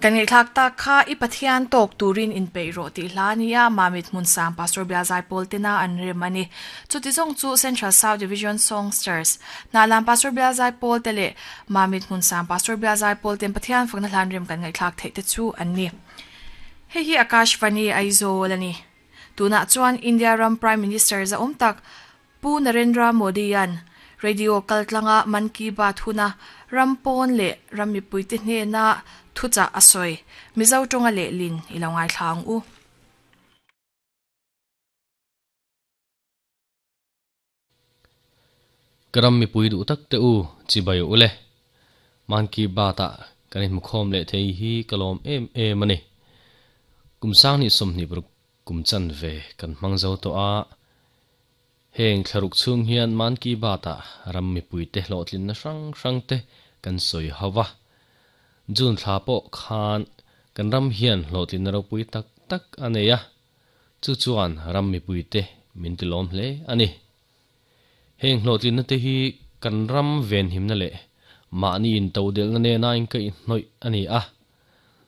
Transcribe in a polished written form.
Kan ngaihthlak tak kha i Pathian tawk turin inpeih rawh tih hla a ni a, Mamit Hmunsang Pastor Bial Zaipawl tena an rem a ni. Chuti zawng chu Central South Division Songsters, Hnahlan Pastor Bial Zaipawl te leh Mamit Hmunsang Pastor Bial Zaipawl ten Pathian fakna hlan rem kan ngaihthlak theih te chu an ni. Hei hi Akashvani Aizawl a ni. Tunah chuan India ram Prime Minister zahawm tak Pu Narendra Modi-a'n radio kaltlanga Mann Ki Baat huna ram pawn leh ram mipuite hnena thuchah a sawi. Mizo tawnga lehlin i lo ngaithla ang u. Ka ram mipui duh tak te u, chibai u le. Mann Ki Baat-ah kan inhmukhawm leh thei hi ka lawm em em a ni. Kum 2026 Kum chanve kan hmang zo tawh a, heng thlaruk chhung hian Mann Ki Baat-ah ram mipuite hlawhtlinna hrang hrangte kan sawi ho va. June thla pawh khan kan ram hian hlawhtlinna ropui tak tak a nei a, chu chuan ram mipuite min tilawm hle a ni. Heng hlawhtlinna te hi kan ram venhimna leh mahni intodelhna nena inkaihhnawih a ni a.